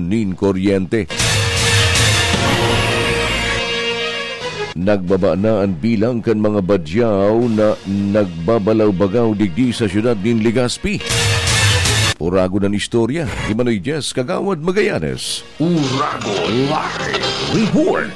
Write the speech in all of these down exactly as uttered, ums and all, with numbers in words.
nin kuryente. Nagbaba na an bilang kan mga badyaw na nagbabalaw-bagaw digdi sa siyudad nin Legazpi. Uragon an istorya, ni Manoy Jess Kagawad Magallanes. Uragon Live Report.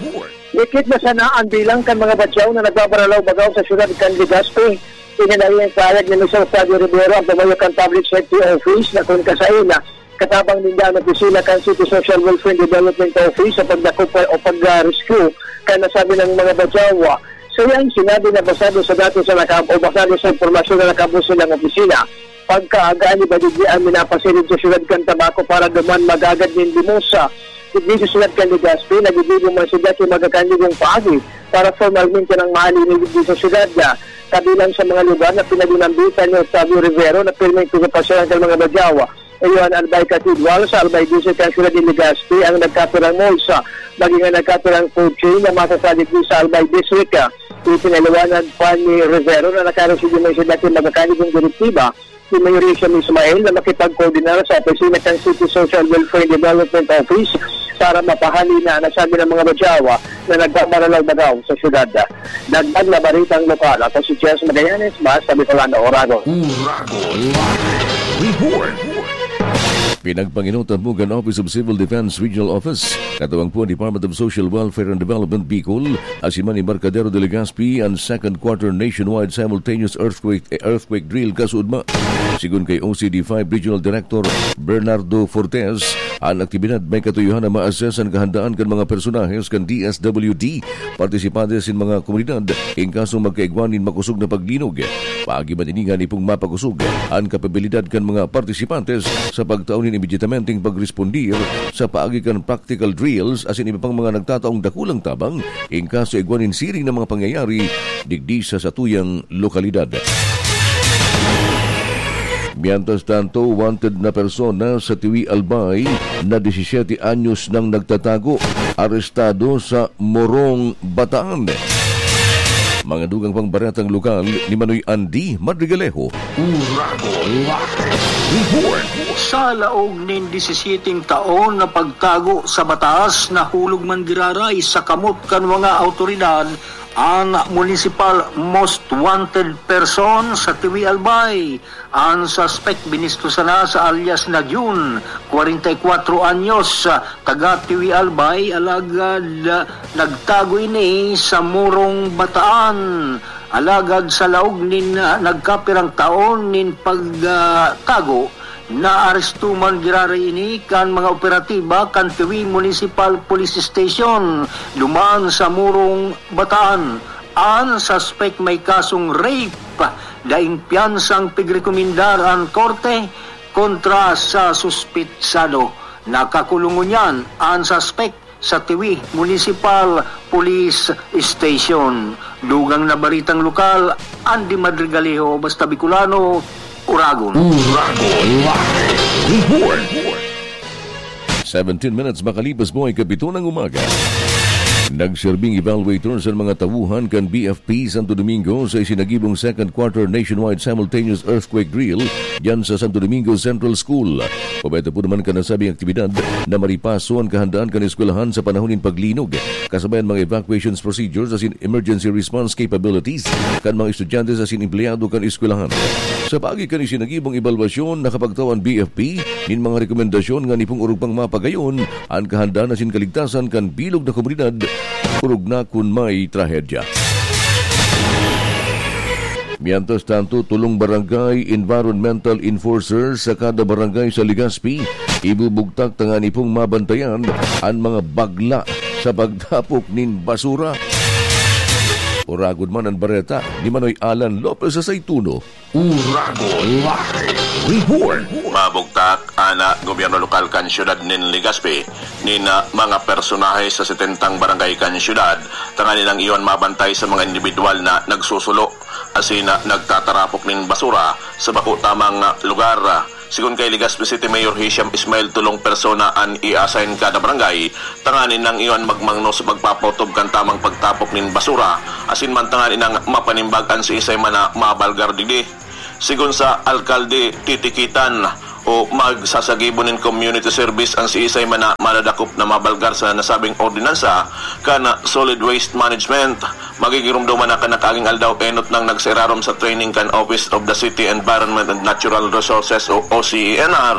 Dikit na sana ang bilang kan mga badyaw na nagbabaralaw-bagaw sa siyudad kan Legazpi. Ininayong pahayag ni Mister Octavio Rivero, ang pamayo kan Public Safety Office, na kun kasain na katabang ninda ang opisina kan City Social Welfare and Development Office sa pagdakop o pag-rescue kan nasabi ng mga badyaw. Sa iyang sinabi na basado sa datos na naka-, o basado sa impormasyon na nakaabot sa ilang opisina, pagkaaga ni Badigdi ang minapasilid sa siyudad kan Tabaco para duman magagad nin limosa. Digdi sa siyudad kan Legazpi, naggigibo man sinda ki magkakanigong paagi para formalmente nang mahalin digdi sa siyudad na kabilang sa mga lugar na pinag-inambitan ni Octavio Rivero na pirmeng pigapasyalan kan mga badyaw. Iyo an Albay Cathedral sa Albay District kan siyudad ni Legazpi ang nagkapirang malls, maging ang nagkapirang food chain na masasalig sa Albay District. Ipinaliwanag pa ni Rivero na nakaresibi man sinda ki magkakanigong direktiba ni Mayor Hisham Ismail na makipagkoordinar sa opisina kan City Social Welfare and Development Office para mapahali na ang nasabi ng mga badyaw na nagbabaralaw-bagaw sa syudad. Dagdag na baritang lokal, ako si Jess Magallanes, Basta Bicolano, Oragon. Uragon Live Report. Pinagpanginotan mo kan Office of Civil Defense Regional Office, katuwang po ang Department of Social Welfare and Development Bicol, asin man Embarcadero de Legazpi, an second quarter nationwide simultaneous earthquake, earthquake drill kasuodma. Sigon kay O C D five Regional Director Bernardo Fortes, an aktibidad may katuyohan na ma-assess an kahandaan kan mga personahes kan D S W D, partisipantes nin mga komunidad, in kasong magkaigwa nin makosog na paglinog. Paagi man ini ngani pong mapakosog an kapabilidad kan mga partisipantes sa pagtao nin immediatamenteng pagrespondir sa paagi kan practical drills asin iba pang mga nagtataong dakulang tabang in kaso igwa nin siring na mga pangyayari digdi sa satuyang lokalidad. Mientras tanto, wanted na persona sa Tiwi, Albay na disisiete anyos nang nagtatago, arestado sa Morong, Bataan. Mga dugang pang baretang lokal ni Manoy Andy Madrigalejo. Uragon Live Report. Sa laog nin disisiete taon na pagtago sa batas, nahulog man giraray sa kamot kan mga awtoridad an municipal most wanted person sa Tiwi, Albay. An suspek binisto sana sa alias na Jun, kwarenta y kwatro anyos, taga Tiwi, Albay, alagad, ah, nagtago ini sa Morong, Bataan. Alagad sa laog nin, ah, nagkapirang taon nin pag, ah, tago, naaresto man giraray ini kan mga operatiba kan Tiwi Municipal Police Station, duman sa Morong, Bataan. An suspek may kasong rape, daing piyansang pigrekomendar an korte kontra sa suspetsado. Nakakulong ngunyan an suspek sa Tiwi Municipal Police Station. Dugang na baritang lokal, Andy Madrigalejo, Basta Bicolano, Uragon. Uragon Live Report. Seventeen minutes makalipas po ay kapito ng umaga. Nagserbing evaluator sa mga tauhan kan B F P Santo Domingo sa isinagibong second quarter nationwide simultaneous earthquake drill diyan sa Santo Domingo Central School. Pabaito po naman kan nasabing aktibidad na maripaso an kahandaan kan eskwelahan sa panahon nin paglinog, kasabayan mga evacuations procedures asin emergency response capabilities kan mga estudyante asin empleyado kan eskwelahan. Sa paagi kan isinagibong ebalwasyon, nakapagtao an B F P nin mga rekomendasyon ngani pong orog pang mapagayon an kahandaan asin kaligtasan kan bilog na komunidad, orog na kun may trahedya. Mientras tanto, tolong barangay environmental enforcers sa kada barangay sa Legazpi ibubugtak tanganing pong mabantayan an mga bagla sa pagtapok nin basura. Uragon man an bareta ni Manoy Alan Lopez sa Saituno. Uragon Live Report. Mabugtak an gobyerno lokal kan siyudad nin Legazpi nin, ah, mga personahe sa setentang barangay kan siyudad, tanganing iyon mabantay sa mga indibidwal na nagsusulo asin, ah, nagtatarapok nin basura sa bako tamang, ah, lugar. Sigon kay Legazpi City Mayor Hisham Ismail, tolong persona an i-assign kada barangay, tanganing iyon magmangno sa pagpapaotob kan tamang pagtapok nin basura, asin man tanganing mapanimbag an siisay man na mabalgar digdi. Sigon sa Alkalde Titikitan, o magsasagibo nin community service an siisay man na madadakop na mabalgar sa nasabing ordinansa kan solid waste management. Magigiromdoman na kan nakaaging aldaw enot nang nagsairarom sa training kan Office of the City Environment and Natural Resources o O C E N R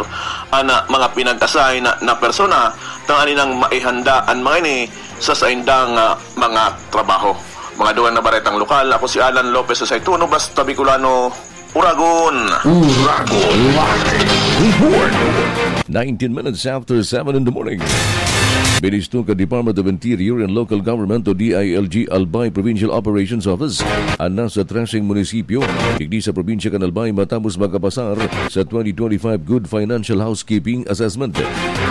an mga pinag-assign na, na persona tanganing maihanda an mga ini sa saindang ah, mga trabaho. Mga dugang na baretang lokal, ako si Alan Lopez sa Saituno, Basta Bicolano, Uragon. Uragon Live Report. Nineteen minutes after seven in the morning. Ministro ka Department of Interior and Local Government o D I L G Albay Provincial Operations Office an nasa traseng munisipyo digdi sa probinsya kan Albay matapos makapasar sa twenty twenty-five Good Financial Housekeeping Assessment.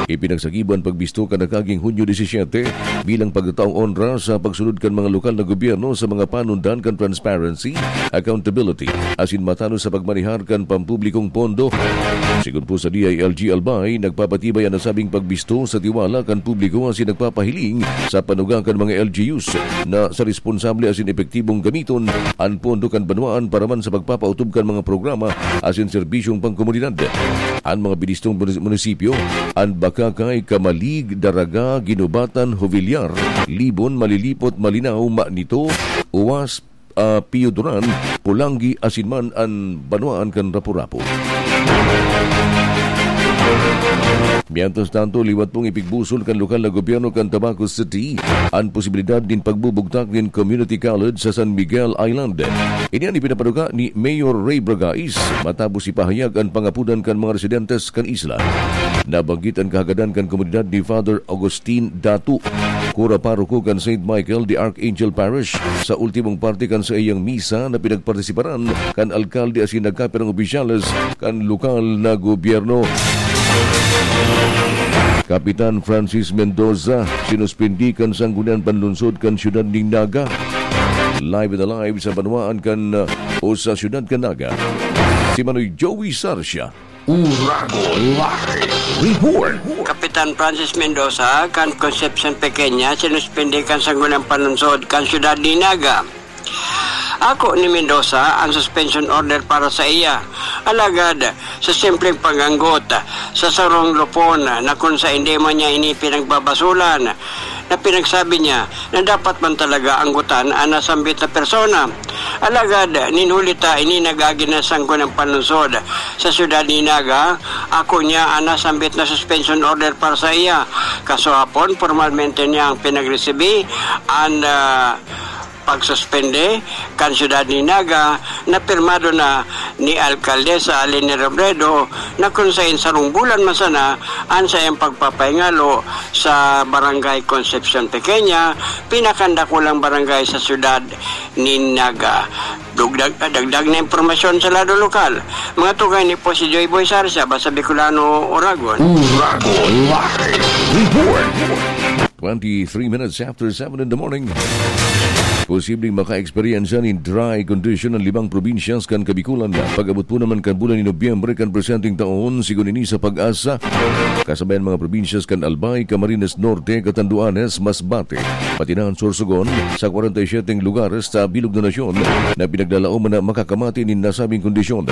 Ipinagsagibo an pagbisto kan nakaging Hunyo disisiete bilang pagtataong onra sa pagsunod kan mga lokal na gobyerno sa mga panundan kan transparency, accountability, asin matanos sa pagmanehar kan pampublikong pondo. Sigon po sa D I L G Albay, nagpapatibay an nasabing pagbisto sa tiwala kan publiko asin nagpapahiling sa panuga kan mga L G Us na sa responsable asin epektibong gamiton an pondo kan banwaan para man sa pagpapaotob kan mga programa asin serbisyong pangkomunidad. An mga binistong munis-, munisipyo, an Bacacay, Camalig, Daraga, Guinobatan, Jovellar, Libon, Malilipot, Malinao, Manito, Uas, ah, Pioduran, Polangui, asin man an banwaan kan Rapu-Rapu. Mientras tanto, liwat pong ipigbusol kan lokal na gobyerno kan Tabaco City an posibilidad nin pagbubugtak nin community college sa San Miguel Island. Ini an ipinapanuga ni Mayor Ray Bragais matapos ipahayag an pangapodan kan mga residentes kan isla. Nabanggit an kahagadan kan komunidad ni Father Augustine Datu, kura paroko kan Saint Michael the Archangel Parish, sa ultimong parte kan saiyang misa na pinagpartisiparan kan alkalde asin nagkapirang opisyales kan lokal na gobyerno. Kapitan Francis Mendoza, sinuspindi kan Sangguniang Panlunsod kan siyudad nin Naga. Live and alive sa banwaan kan, uh, o sa siyudad kan Naga, si Manoy Joey Sarsia. Uragon Live Report. Kapitan Francis Mendoza kan Concepcion Pequeña sinuspindi kan Sangguniang Panlunsod kan siyudad nin Naga. Ako ni Mendoza ang suspension order para sa iya. Alagad, sa simpleng pag-anggot sa sarong lupon na kung sa hindi man niya ini pinagbabasulan, na pinagsabi niya na dapat man talaga anggutan ang nasambit na persona. Alagad, nin huli ta ini nag-agi na Sangguniang Panlunsod sa siyudad ni Naga, ako niya ang nasambit na suspension order para sa iya. Kaso hapon, pormalmente niyang pinagresibi ang, ah, pagsuspende kan siyudad ni Naga na pirmado na ni Alkaldesa Leni Robredo na kun saen sarong bulan man sana an saiyang pagpapahingalo sa Barangay Concepcion Pequeña, pinakaandakulang barangay sa siyudad ni Naga. Dugdag, dagdag na impormasyon sa lado lokal. Mga tugay ni po si Joy Boy Sarsia, Basta Bicolano, Uragon. Uragon Live Report. Twenty-three minutes after seven in the morning. Posibleng maka-eksperyensya nin dry condition an limang probinsyas kan Kabikulan. Pag-abot po naman kan bulan ni Nobyembre kan presenteng taon, sigon ini sa PAGASA, kasabayan mga probinsyas kan Albay, Camarines Norte, Catanduanes, Masbate, pati na an Sorsogon, sa kwarenta y siyete lugares sa bilog na nasyon na pinaglalaoman na makakamati nin nasabing kondisyon.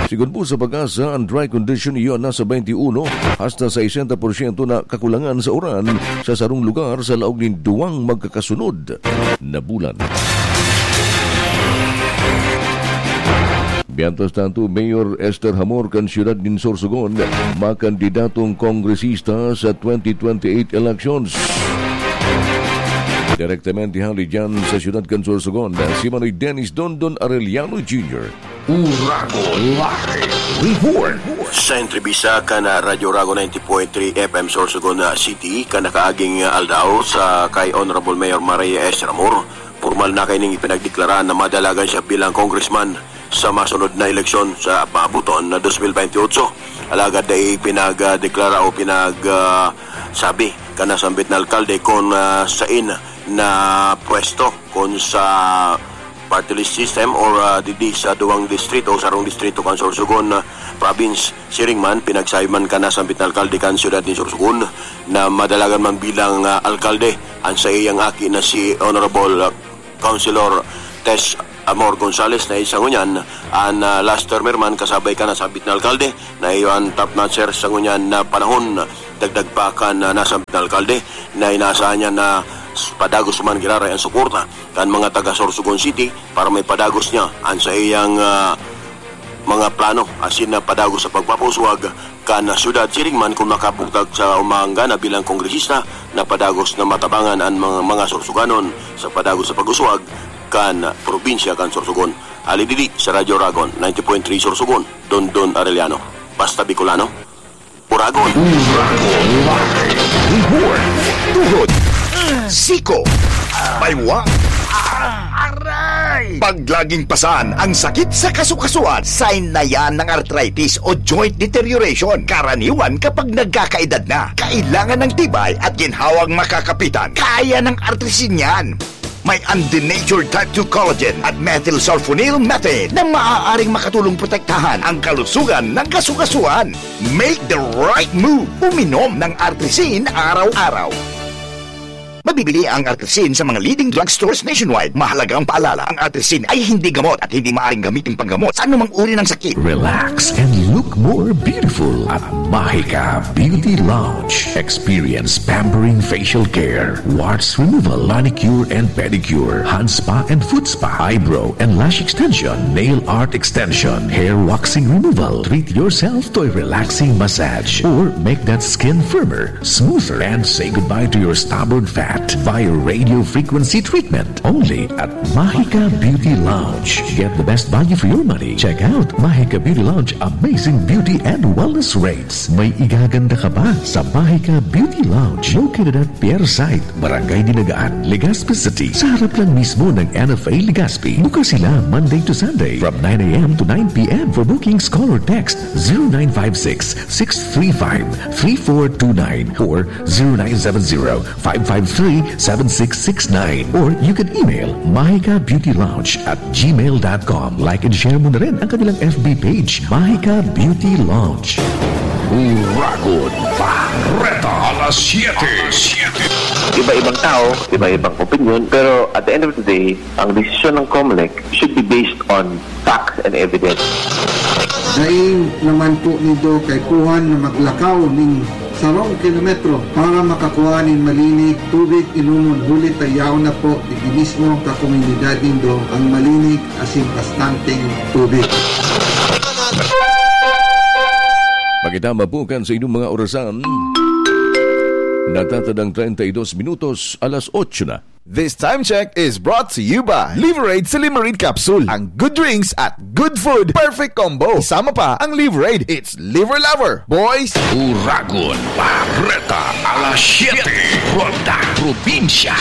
Sigon po sa PAGASA, ang dry condition iyo nasa twenty-one hasta sesenta porsyento na kakulangan sa uran sa sarong lugar sa laog nin duwang magkakasunod na bulan. Mientras tanto, Mayor Esther Hamor kan siyudad nin Sorsogon, makandidatong kongresista sa twenty twenty-eight elections. Direktamente hali dyan sa siyudad kan Sorsogon, si Manoy Dennis Dondon Arellano Junior. Uragon Live Report. Sa entrebista kan Radyo Uragon ninety point three F M Sorsogon City, kan nakaaging aldaw sa kay Honorable Mayor Maria Esther Hamor, pormal na kaining ipinagdeklara na madalagan siya bilang congressman sa masunod na eleksyon sa paabuton na dos mil bentiocho. Alagad dai pinagdeklara o pinag, ah, sabi kan nasambit na alkalde kung, ah, sain na pwesto, kung sa party list system or, ah, didi sa duwang distrito o sarong distrito kan Sorsogon, ah, province. Siring man, pinagsabi man kan nasambit na alkalde kan siyudad ni Sorsogon na madalagan man bilang, ah, alkalde an saiyang aki na si Honorable, ah, Councilor Tess Amor Gonzales na isa ngunyan an, ah, last termer man kasabay kan nasambit na alkalde na iyo an top notcher sa ngunyan na panahon. Dagdag pa kan, ah, nasambit na alkalde na inaasahan niya na s-, padagos man giraray ang suporta kan mga taga Sorsogon City para may padagos niya an sa iyang, ah, mga plano asin na padagos sa pagpapauswag kan syudad, siring man kung makapugtag sa umangga na bilang kongresista na padagos na matabangan an mga, mga Sorsoganon sa padagos sa pag-uswag kan probinsya kan Sorsogon. Ali didi sa Radyo Ragon, ninety point three Sorsogon, Dondon Arellano. Basta Bicolano, Uragon. Uragon Live. Report. Tuhod. Siko. Baywa. Aray! Pag laging pasan ang sakit sa kasukasuan, sign na yan ng arthritis o joint deterioration. Karaniwan kapag nagkakaedad na, kailangan ng tibay at ginhawang makakapitan. Kaya ng Artrisin yan. May undenatured type two collagen at methylsulfonyl methane na maaaring makatulong protektahan ang kalusugan ng kasukasuan. Make the right move. Uminom ng Artrisin araw-araw. Mabibili ang Artrisin sa mga leading drugstores nationwide. Mahalagang paalala, ang Artrisin ay hindi gamot at hindi maaaring gamitin panggamot sa anumang uri ng sakit. Relax and look more beautiful at Mahika Beauty Lounge. Experience pampering facial care, warts removal, manicure and pedicure, hand spa and foot spa, eyebrow and lash extension, nail art extension, hair waxing removal. Treat yourself to a relaxing massage or make that skin firmer, smoother, and say goodbye to your stubborn fat via radio frequency treatment. Only at Mahika Beauty Lounge. Get the best value for your money. Check out Mahika Beauty Lounge Amazing Beauty and Wellness Rates. May igaganda ka ba sa Mahika Beauty Lounge? Located at Pier Site, Barangay Dinagaan, Legazpi City, sa harap lang mismo ng N F A Legazpi. Bukas sila Monday to Sunday from nine a m to nine p m. For bookings, call or text zero nine five six, six three five, three four two nine or zero nine seven zero, five five three, seven six six nine. Or you can email mahika beauty lounge at gmail dot com. Like and share mo na rin ang kanilang F B page, Mahika Beauty Lounge. Uragon Bareta, alas siyete. Iba-ibang tao, iba-ibang opinion, pero at the end of the day, ang desisyon ng COMELEC should be based on facts and evidence. Dai naman po nindo kaipuhan na maglakaw nin sarong kilometro para makakua nin malinig tubig inomon, huli ta yaon na po digdi mismo ka komunidad nindo ang malinig asin bastanteng tubig. Pakitama po kan sa inyong mga orasan. Natatadang treinta y dos minutos, alas otso na. This time check is brought to you by Liverade Silimarid Capsule. Ang good drinks at good food, perfect combo. Isama pa ang Liverade. It's Liver Lover, boys! Uragon Bareta, alas siyete, Ronda Probinsya.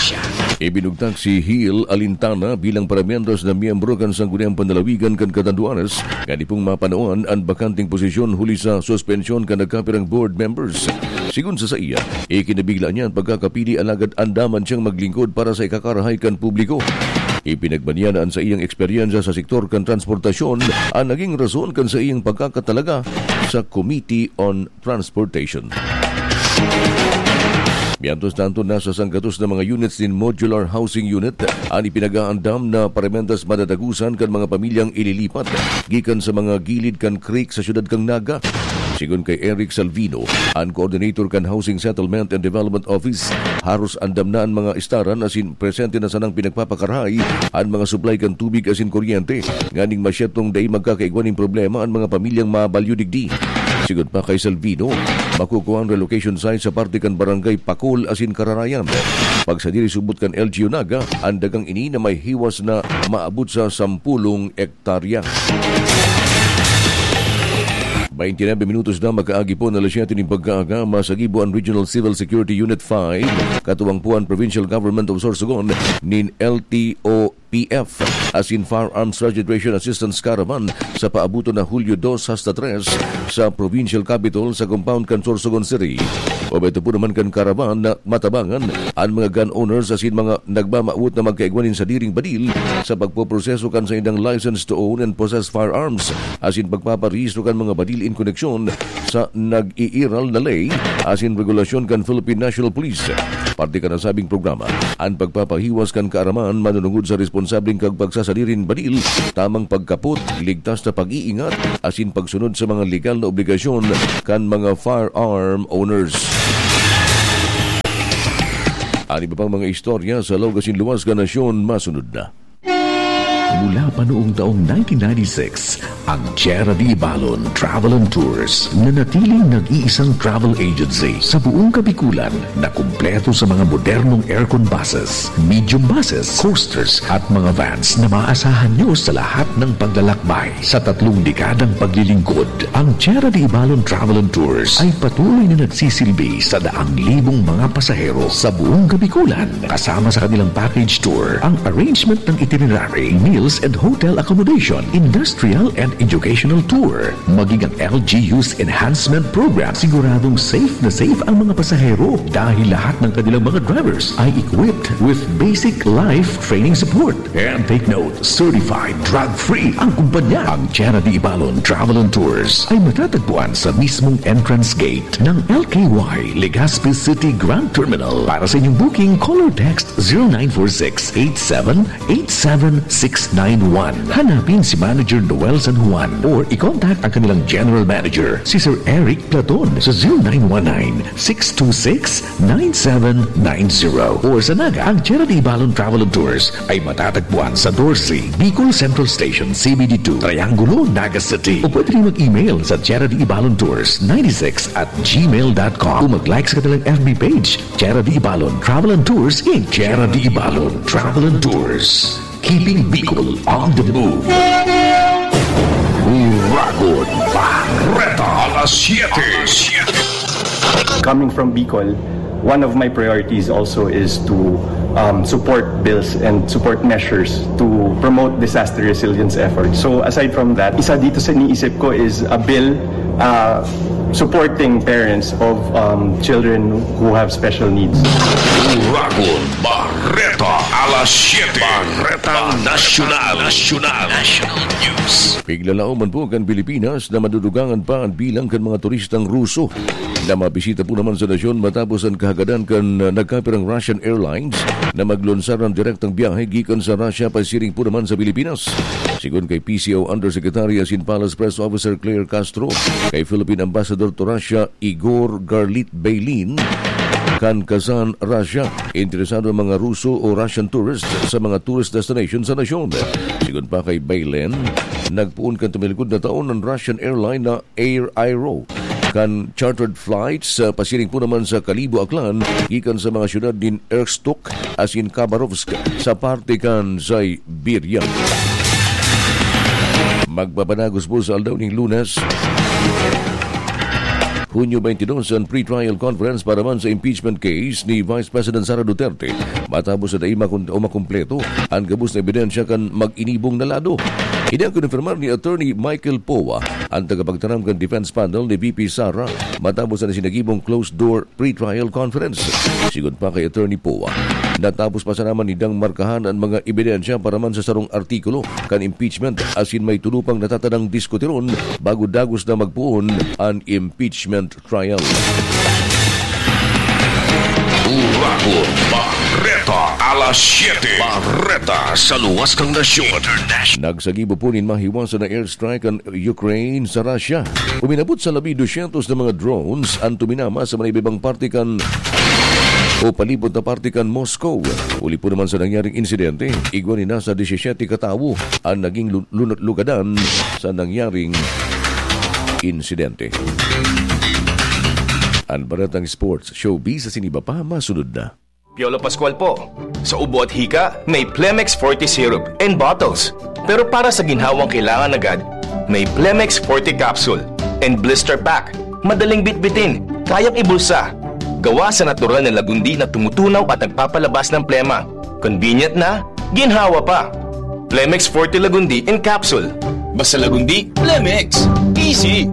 Ibinugtak si Hill Alintana bilang paramientras na miyembro kan Sangguniang Panlalawigan kan Catanduanes, ngani pong mapanuan an bakanteng posisyon huli sa suspensyon kan nagkapirang board members. Sigon sa saiya, ikinabigla niya an pagkakapili alagad andaman siyang maglingkod para sa ikakarahay kan publiko. Ipinagbanyanan sa iyang eksperyensya sa sektor kan transportasyon an naging rason kan saiyang pagkakatalaga sa Committee on Transportation. Mientras tanto, nasa sanggatos na mga units nin Modular Housing Unit an ipinag-aandam na paramentas madadagusan kan mga pamilyang ililipat gikan sa mga gilid kan creek sa siyudad kan Naga. Sigon kay Eric Salvino, an coordinator kan Housing Settlement and Development Office, haros andam na an mga estaran asin presente na sanang pinagpapakarahay an mga supply kan tubig asin kuryente, nganing masyetong dai magkakaigwa nin problema an mga pamilyang mabalyo digdi. Sigon pa kay Salvino, makukua an relocation site sa parte kan Barangay Pakol asin Kararayan. Pagsadiri subot kan L G U Naga, an dagang ini na may hiwas na maabot sa sampulong hektarya. Baintinuebe minutos na makaagi po na alas siyete nin pagkaaga, masagibo an Regional Civil Security Unit five, katuwang po an Provincial Government of Sorsogon nin L T O P F, asin Firearms Registration Assistance Caravan sa paabuton na Hulyo dos hasta tres sa Provincial Capitol sa compound kan Sorsogon City. Obheto po naman kan caravan na matabangan an mga gun owners asin mga nagmamawot na magkaigwa nin sadiring badil sa pagpoproseso kan saindang license to own and possess firearms asin pagpaparehistro kan mga badil in koneksyon sa nag-iiral na ley asin regulasyon kan Philippine National Police. Parte kan nasabing programa, an pagpapahiwas kan kaaraman manunungod sa responsabilidad responsabling kag pagsasadiri nin baril, tamang pagkapot, ligtas na pag-iingat, asin pagsunod sa mga legal na obligasyon kan mga firearm owners. An iba pang mga istorya sa laog asin luwas kan nasyon masunod na. Mula pa noong taong nineteen ninety-six, ang Tierra de Ibalon Travel and Tours nanatiling nag-iisang travel agency sa buong Kabikulan na kumpleto sa mga modernong aircon buses, medium buses, coasters at mga vans na maaasahan nyo sa lahat ng paglalakbay. Sa tatlong dekadang paglilingkod, ang Tierra de Ibalon Travel and Tours ay patuloy na nagsisilbi sa daang libong mga pasahero sa buong Kabikulan, kasama sa kanilang package tour, ang arrangement ng itinerary, meals and hotel accommodation, industrial and educational tour, maging ang L G U's enhancement program. Siguradong safe na safe ang mga pasahero dahil lahat ng kanilang mga drivers ay equipped with basic life training support. And take note, certified drug-free ang kumpanya. Ang Tierra de Ibalon Travel and Tours ay matatagpuan sa mismong entrance gate ng L K Y Legazpi City Grand Terminal. Para sa inyong booking, call or text zero nine four six eight seven eight seven six nine one. Hanapin si Manager Noel San Juan or i-contact ang kanilang General Manager, si Sir Eric Platon, sa zero nine one nine six two six nine seven nine zero. Or sa Naga, ang Tierra de Ibalon Travel and Tours ay matatagpuan sa Dorsey, Bicol Central Station, C B D two, Triangulo, Naga City. O pwede rin mag-email sa Tierra de Ibalon Tours ninety-six at gmail dot com o mag-like sa kanilang F B page, Tierra de Ibalon Travel and Tours, Inc. Tierra de Ibalon Travel and Tours. Keeping Bicol on the move. Uragon Bareta, alas siyete. Coming from Bicol, one of my priorities also is to um, support bills and support measures to promote disaster resilience efforts. So aside from that, isa dito sa iniisip ko is a bill uh, supporting parents of um, children who have special needs. Uragon Bareta, alas siyete. Bareta Nasyonal. Nasyonal. National News. Piglalaom man po kan Pilipinas na madudugangan pa an bilang kan mga turistang Ruso na mabisita po naman sa nasyon matapos an kahagadan kan, ah, nagkapirang Russian Airlines na maglonsar ng direktang biyahe gikan sa Russia pasiring po naman sa Pilipinas. Sigon kay P C O Undersecretary asin Palace Press Officer Claire Castro, kay Philippine Ambassador to Russia Igor Garlit Baylin, kan Kazan, Russia, interesado ang mga Ruso o Russian tourists sa mga tourist destination sa nasyon. Sigon pa kay Baylin, nagpoon kan tumilikod na taon ang Russian airline na Air Aero kan chartered flights sa pasiring po naman sa Kalibo, Aklan, gikan sa mga syudad nin Irkutsk asin Khabarovsk sa parte kan Siberia. Magpapanagos po sa aldaw ning Lunes, Hunyo twenty-two, an pre-trial conference para man sa impeachment case ni Vice President Sara Duterte, matapos na dai makon-, o makumpleto an gabos na ebidensya kan mag-inibong na lado. Ini ang kinonfirmar ni Attorney Michael Poa, an tagapagtaram kan defense panel ni V P Sara, matapos na sinagibong closed-door pre-trial conference. Sigon pa kay Attorney Poa, natapos pa sana man nindang markahan an mga ebidensya para man sa sarong artikulo kan impeachment, asin may tulo pang natatadang diskutiron bago dagos na magpoon an impeachment trial. Uragon Bareta, alas siyete. Bareta sa luwas kan nasyon. Nagsagibo po nin mahiwasan na airstrike an Ukraine sa Russia. Uminabot sa labi dosyentos na mga drones an tuminama sa mga iba-ibang parte kan o palibot na parte kan Moscow. Huli po naman sa nangyaring insidente, igwa nin nasa disisyete katawo an naging lu-, lunot-lugadan sa nangyaring insidente. An baretang sports, showbiz asin iba pa, masunod na. Piolo Pascual po. Sa ubo at hika, may Plemex Forte Syrup and bottles. Pero para sa ginhawang kailangan agad, may Plemex Forte Capsule and Blister Pack. Madaling bitbitin, kayang ibulsa. Gawa sa natural na lagundi na tumutunaw at nagpapalabas ng plema. Convenient na, ginhawa pa. Plemex Forte Lagundi in Capsule. Basta Lagundi, Plemex. Easy!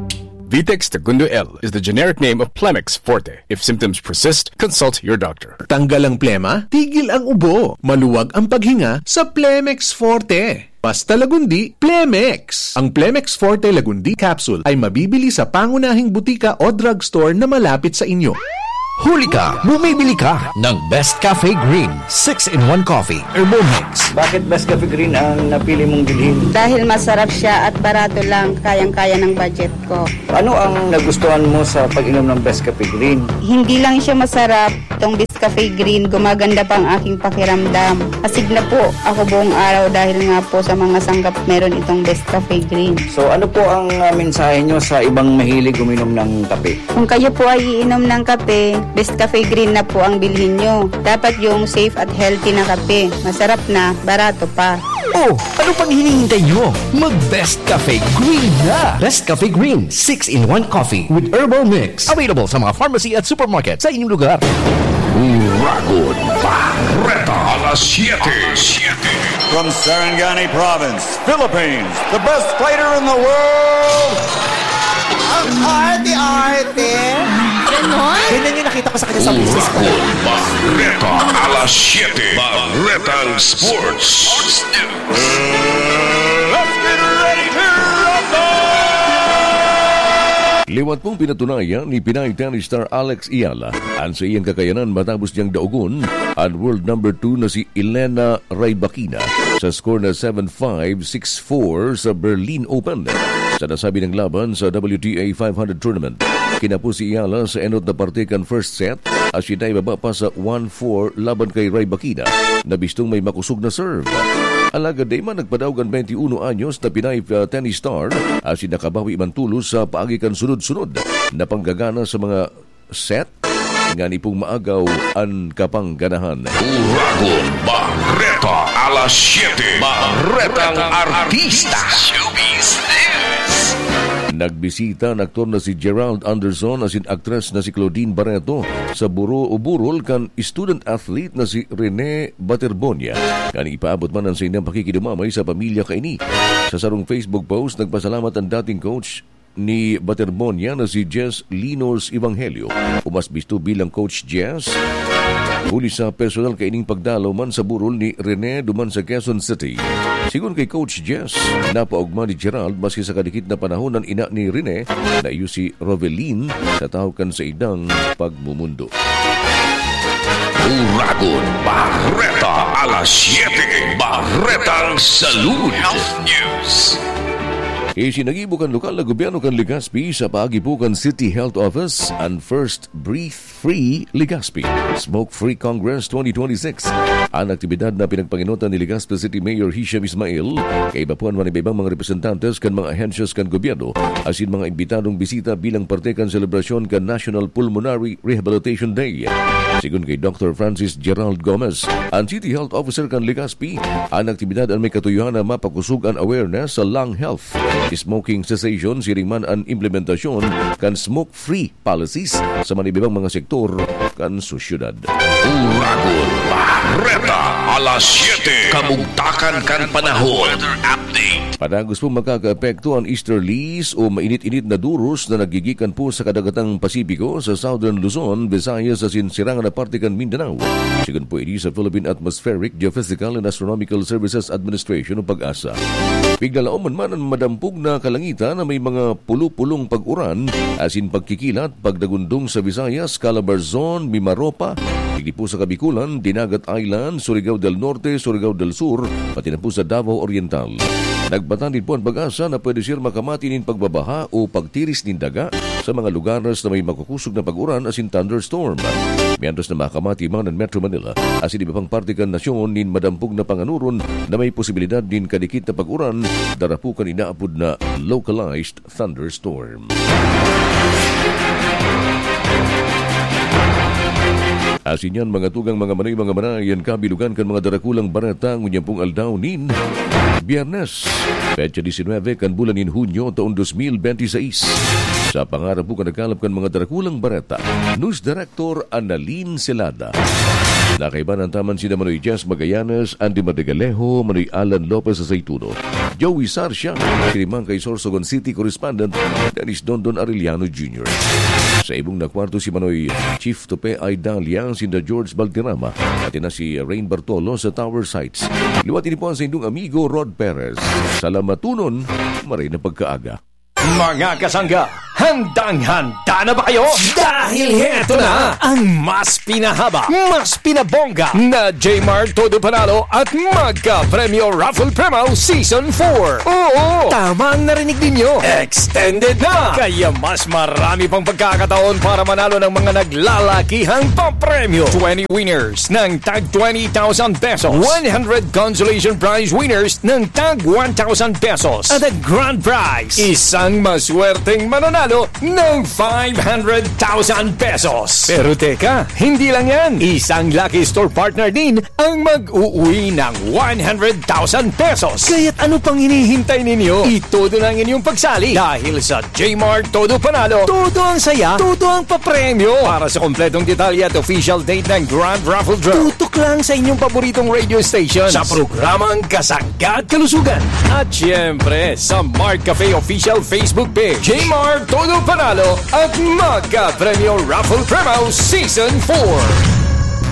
Vitex Tagundo L is the generic name of Plemex Forte. If symptoms persist, consult your doctor. Tanggal ang plema, tigil ang ubo, maluwag ang paghinga sa Plemex Forte. Basta Lagundi, Plemex! Ang Plemex Forte Lagundi Capsule ay mabibili sa pangunahing butika o drugstore na malapit sa inyo. Huli ka, bumibili ka ng Best Cafe Green six-in-one Coffee Herbal Mix. Bakit Best Cafe Green ang napili mong bilhin? Dahil masarap siya at barato lang, kayang-kaya ng budget ko. Ano ang nagustuhan mo sa pag-inom ng Best Cafe Green? Hindi lang siya masarap, itong Best Cafe Green, gumaganda pa ang aking pakiramdam. Asig na po ako buong araw dahil nga po sa mga sanggap meron itong Best Cafe Green. So, ano po ang, ah, mensahe nyo sa ibang mahilig uminom ng kape? Kung kayo po ay iinom ng kape, Best Cafe Green na po ang bilhin nyo. Dapat yung safe at healthy na kape. Masarap na, barato pa. Oh, ano pang hinihintay nyo? Mag Best Cafe Green na! Best Cafe Green, six-in-one Coffee with Herbal Mix. Available sa mga pharmacy at supermarket sa inyong lugar. Uragon Barreta, alas siyete. From Sarangani Province, Philippines, the best fighter in the world. Ang arte-arte. Ganon? Ganyan yung nakita ko sa kanya sa business ko. Uragon Barreta, alas siyete. Barretang Sports. Let's get ready to rumble! Liwat pong pinatunayan ni Pinay tennis star Alex Eala ang saiyang kakayanan matapos niyang daogon ang world number two na si Elena Rybakina sa score na seven five, six four sa Berlin Open. Sa nasabi niyang laban sa W T A five hundred tournament, kinapos si Eala sa enot na parte kan first set, asin naibaba pa sa one four laban kay Rybakina na bistong may makosog na serve. Alagad dai man nagpadaog an twenty-uno anyos na Pinay, ah, tennis star, asin nakabawi man tolos sa paagi kan sunod-sunod na panggagana sa mga set, ngani pong maagaw an kapangganahan. Uragon Barreta, alas siyete. Barretang Artista. Showbiz News. Nagbisita an aktor na si Gerald Anderson asin aktres na si Claudine Barreto sa buro o burol kan student athlete na si Rene Baterbonia, ngani ipaabot man an saindang pakikidumamay sa pamilya kaini. Sa sarong Facebook post, nagpasalamat an dating coach ni Baterbonia na si Jess Linos Evangelio, o mas bisto bilang Coach Jess, huli sa personal kaining pagdalaw man sa burol ni Rene duman sa Quezon City. Sigon kay Coach Jess, napaogma ni Gerald maski sa kadikit na panahon an ina ni Rene na iyo si Rovelin sa tahaw kan saindang pagmumundo. Uragon Barreta, alas siyete, Barretang Salud. Health News. Isinagibo kan lokal na gobyerno kan Legazpi sa paagi po kan City Health Office an First Breathe Free Legazpi, Smoke Free Congress twenty twenty-six. An aktibidad na pinagpangenotan ni Legazpi City Mayor Hisham Ismail, kaiba po an mga iba-ibang mga representantes kan mga ahensyas kan gobyerno, asin mga imbitadong bisita bilang parte kan selebrasyon kan National Pulmonary Rehabilitation Day. Sigon kay Doctor Francis Gerald Gomez, an City Health Officer kan Legazpi, an aktibidad an may katuyohan na mapakosog an awareness sa lung health, smoking cessation, siring man an implementasyon kan smoke-free policies sa mga iba-ibang mga sektor kan sosyedad. Uragon Barreta, alas siyete, kamugtakan kan panahon. Weather update. Padagos po makakaapekto an easterlies o mainit-init na duros na naggigikan po sa kadagatang Pasipiko sa Southern Luzon, Visayas asin sirangan na parte kan Mindanao. Sigon po ini sa Philippine Atmospheric, Geophysical and Astronomical Services Administration o PAGASA. Piglalaoman man an madampog na kalangitan na may mga pulo-pulong pag-uran asin pagkikilat, pagdagundong sa Visayas, Calabarzon, Mimaropa, digdi po sa Kabikulan, Dinagat Island, Surigao del Norte, Surigao del Sur, pati na po sa Davao Oriental. Nagpatanid po an PAGASA na pwede siya makamati nin pagbabaha o pagtiris nin daga sa mga lugares na may makukosog na pag-uran asin thunderstorm. Mientras na makamati man an Metro Manila asin iba pang parte kan nasyon nin madampog na panganuron na may posibilidad nin kadikit na pag-uran, dara po kan inaapod na localized thunderstorm. Asin yan, mga tugang, mga manoy, mga manay, yan kabilugan kan mga darakulang bareta ngunyan pong aldaw nin Biyernes, petsa disinwebe kan bulan nin Hunyo, taon dos mil benti seis. Sa pangarap po kan nagkalap kan mga darakulang bareta, News Director Annalyn Celada. Nakaibanan taman sina Manoy Jess Magallanes, Andy Madrigalejo, Manoy Alan Lopez Aceituno, Joey Sarcia, siring man kay Sorsogon City Correspondent Dennis Dondon Arellano Junior Sa ibong na kwarto si Manoy Chief Tope Idalia, sinda George Valderrama, pati na si Rain Bartolo sa Tower Sites. Liwat ini po ang saindong amigo Rod Perez. Salamatunon, maray na pagkaaga. Mga kasangga, Handang-handa na ba kayo? Dahil heto na ang mas pinahaba, mas pinabongga na Jmart Todo Panalo at Magka Premyo Raffle Promo Season four. Oo, tama ang narinig ninyo. Extended na! Kaya mas marami pang pagkakataon para manalo ng mga naglalakihang papremyo. Twenty winners ng tag twenty thousand pesos. One hundred consolation prize winners ng tag one thousand pesos. At ang grand prize, isang maswerteng mananalo ng five hundred thousand pesos. Pero teka, hindi lang yan. Isang lucky store partner din ang mag-uwi ng one hundred thousand pesos. Kaya't ano pang hinihintay ninyo? Itodo na ang inyong pagsali dahil sa Jmart Todo Panalo, todo ang saya, todo ang papremyo. Para sa kompletong detalye at official date ng Grand Raffle Draw, tutok lang sa inyong paboritong radio station sa programang Kasangga at Kalusugan. At siyempre, sa Mart Cafe Official Facebook page, Jmart Todo Panalo at Magka Premyo Raffle Promo Season four.